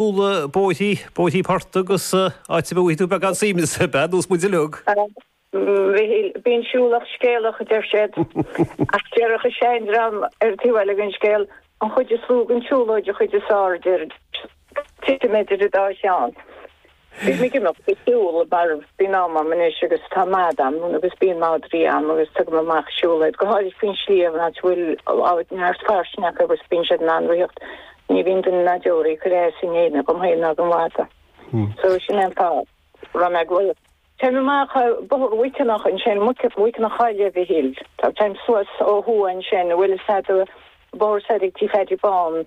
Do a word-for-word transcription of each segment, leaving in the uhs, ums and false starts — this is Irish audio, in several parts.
Cúla bóithrí, bóithrí portaigh agus áit a bhfaighidh tú beagán suaimhnis, ab ea, nós muid uilig. Mhichíl, bíonn siúlach scéalach, a deir siad. Ach déarfadh an seandream ar an taobh eile den scéal, an chuid is lú den tsiúlóid an chuid is fearr, a deir Titim idir an dá cheann. Bím ag imeacht ag siúl mar bíonn am a'm anois agus tá mada a'm agus bíonn madraí a'm agus tugaim amach ag siúl iad, go háirid faoin sliabh, an áit a bhfuil neart fairsinge acu agus bíonn siad in ann ritheacht. Ní bhíonn duine ná deoraí ag cur as in éadan agam féin ná don mhada. So sin é an fáth a raibh mé ag glaoch. Téim amach Bóthar Mhuiceanach ansin, Muiceann na Coille, a Mhichíl. Téim suas ó thuaidh ansin, an bhfuil fhios a'd an bóthar soir ag Tigh Pheaidí Bán,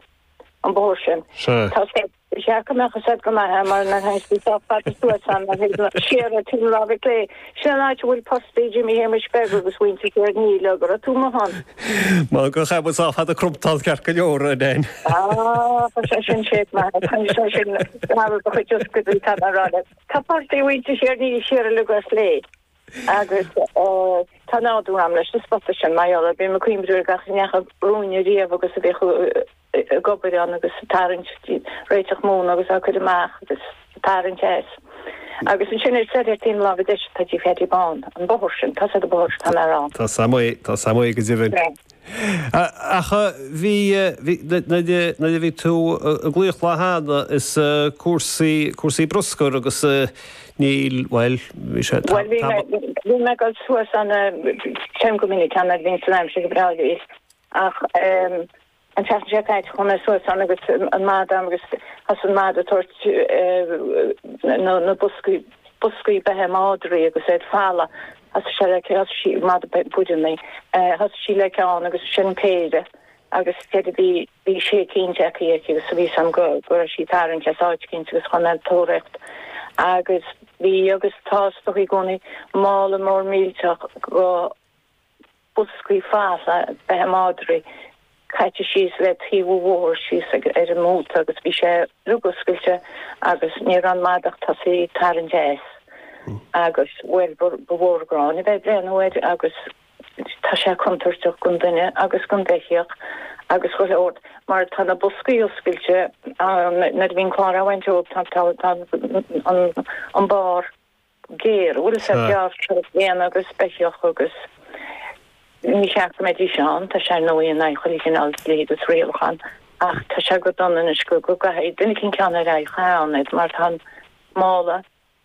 an bóthar sin. Sea. Tá Ba cheart go mbeadh fhios a'd go maith é mar nuair a théann tú sách fada suas ann ar thaobh na siar ar taobh na láimhe clé. Sin an áit a bhfuil postaí Jimmy Shéamuis Beag agus mhuintir Thír Neill an raibh tú amuigh ann. Mar go chaith muid sách fada cromtá ceart go leor, a Nan. Á, tá sé sin séid maith. Tá sé sin thar do chuid ioscadaí tá mé a rá leat. Tá portaigh mhuintir Thír Neill siar uilig ar chlé agus tá nádúr a'm leis na spotaí sin mar gheall ar bím ag cuimhniú ar gach a ndeachaigh romhainne riamh agus a bhíodh ag obair ann agus ag tarraingt, réiteach móna agus á cur amach agus ag tarraingt as. Agus ansin ar soir ar taobh na láimhe deise tá Tigh Pheaidí Bán, an bóthar sin, tá sé an bóthar sin, tá mé a rá. Tá 's a'm é, tá 's a'm é go deimhin. Ach bhí, bhí, nuair a bhí tú ag glaoch lá cheana is cúrsaí, cúrsaí bruscair agus níl, bhuel, bhí sé, tá, Bhuel bhí mé, bhí mé ag dul suas ann, téim go minic ann nuair a bhíonns an aimsir go breá arís ach eh, An tseachtain seo caite chuaigh mé suas ann agus an mada agam agus thosaigh an mada ag tabhairt na boscaí, boscaí beithe madraí agus iad folamh. Thosaigh sé le, thosaigh sí, mada baineann í, thosaigh sí le ceann agus sin péire agus deireadh bhí, bhí sé cinn acu aici agus bhí 'fhios a'm go, go raibh sí ag tarraingt as áit eicínt agus chuaigh mé ag tóraíocht agus bhí agus tá is dóigh i gcónaí mála mór millteach go boscaí folamh beithe madraí caite síos le taobh an bhóthair síos ar an móta agus bhí sé uilig oscailte agus ní raibh an mada ach tosaithe ag tarraingt as agus bhuel ba mhór an ghráin a bheith ag breathnú air agus tá sé contúirteach don duine agus don bheithíoch agus chuile shórt mar tá na boscaí oscailte nuair a bhíonn clár á bhaint óg tá tá an barr géar, bhfuil fhios a'd, gearrtha éan agus beithíoch agus ní cheart go mbeidís ann, tá sé ar ndóigh in aghaidh chuile chineál dlí agus rialachán ach tá sé go dona anois go go gcaithfidh duine eicínt ceann ar aghaidh a chaitheamh ann mar tá an mála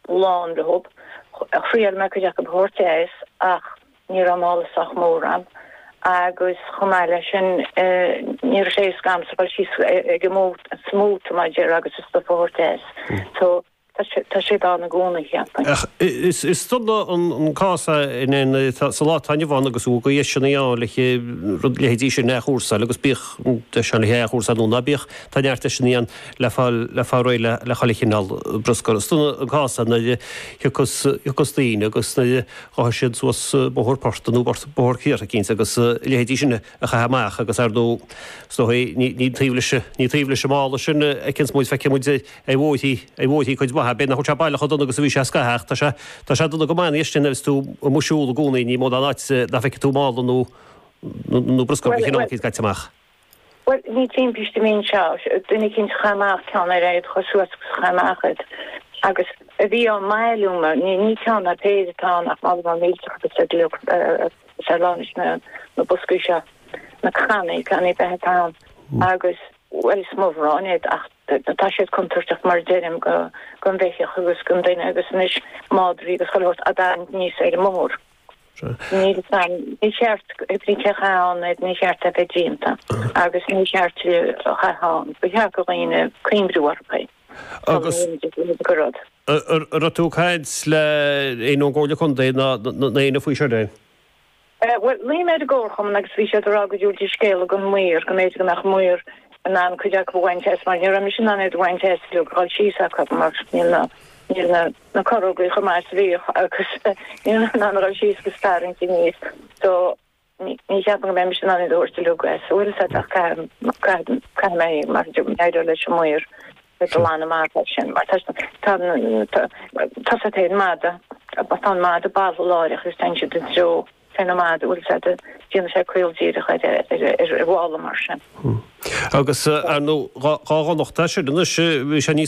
lán leo. Thriail mé cuid acu a thabhairt as ach ní raibh mála sách mór a'm agus chomh maith leis sin ní raibh sé éasca a'msa dul síos ag an móta, sa móta mar a déarfá agus an stuif a thabhairt as. So Tá siad ann i gcónaí, cheapfainn. Ach is dona an cás é sa lá atá inniu ann agus go bhfuil deiseanna ann le rud leithéidí sin a athchúrsáil agus bíodh deis ann le haghaidh athchúrsáil nó ná bíodh, tá neart deiseanna ann le fáil le fáil réidh le le chuile chineál bruscair. Is dona an cás é nuair a thiocfas daoine agus nuair a ghabhfaidh siad suas bóthar portaigh nó bóthar críocha eicínt agus a leithéidí sin a chaitheamh amach agus ar ndóigh is dóigh ní taobh leis ní taobh leis an mála sin a fheiceanns muid, feicfidh muid Ar bhóithrí, ar bhóithrí cuid mhaith, b'fhéidir nach bhfuil sé baileach chomh dona agus a bhí sé scaitheamh ach tá sé, tá sé dona go maith ina dhiaidh sin agus tú amuigh ag siúl i gcónaí, ní mórán áit nach bhfeicfidh tú mála nó, nó bruscar de chineál eicínt caite amach. Bhuel, ní timpiste a bhí anseo, duine eicínt a chaith amach ceann ar aghaidh, chuaigh suas agus chaith amach iad agus a bhí á mbailiú mar, ní, ní ceann ná péire atá ann ach mála mór millteach agus ar dlíodh, agus ar lán leis na, na boscaí seo, na cannaí, cannaí beithe atá ann agus, bhuel, is mó ghráin iad ach tá siad contúirteach mar a deirim don bheithíoch agus don duine agus anois madraí agus chuile shórt á dtarraingt aníos ar an mbóthar. Níl fhios a'm, ní cheart ní cheart ann iad, ní cheart a bheith déanta agus ní cheart a chaitheamh ann. Ba cheart do dhaoine cuimhniú orthu. Agus go rud. An raibh tú ag caint le éinne ón gComhairle Contae ná éinne faoi seo? Bhuel, ghlaoigh mé ar an gcomharchumann agus bhí siad ag rá go dtabharfaidís scéala don mhaor, go mb'fhéidir go mbeadh an maor in ann cuid acu a bhaint as, mar ní raibh mise in ann iad a bhaint as le dhul síos acu mar níl na, níl na, na corrógaí chomh maith is a bhíodh agus ní raibh mé in ann a dhul síos agus tarraingt aníos. So, ní, ní cheapaim go mbeidh mise in ann iad a thabhairt uilig as. Bhfuil fhios agat ach caithfidh, caithfidh, caithfidh mé mar a déarfá leis an maor iad a ghlanadh amach as sin mar tá, tá, tá, tá, tá an mada, tá an mada balbh láithreach agus téann siad i dtreo fén mada bhfuil sé déanann sé caol díreach ar ar ar mhála mar sin. Agus ar nó dhá dhonacht sin anois bhí sé níos